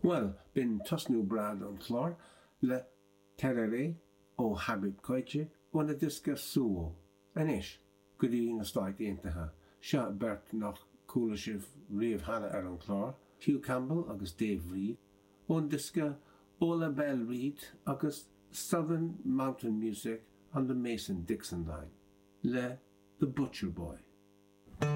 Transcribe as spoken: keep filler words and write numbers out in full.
Bhuel, b'in tosnú breá don chlár le Tereré ó Habib Koité óna diosca Suwo. Anois, go dtí na Stáit Aontaithe. Seo beirt nach chuala sibh riamh cheana ar an chlár, Hugh Campbell agus Dave Reed, ón diosca Ola Belle Reed agus Southern Mountain Music on the Mason-Dixon Line, le The Butcher Boy.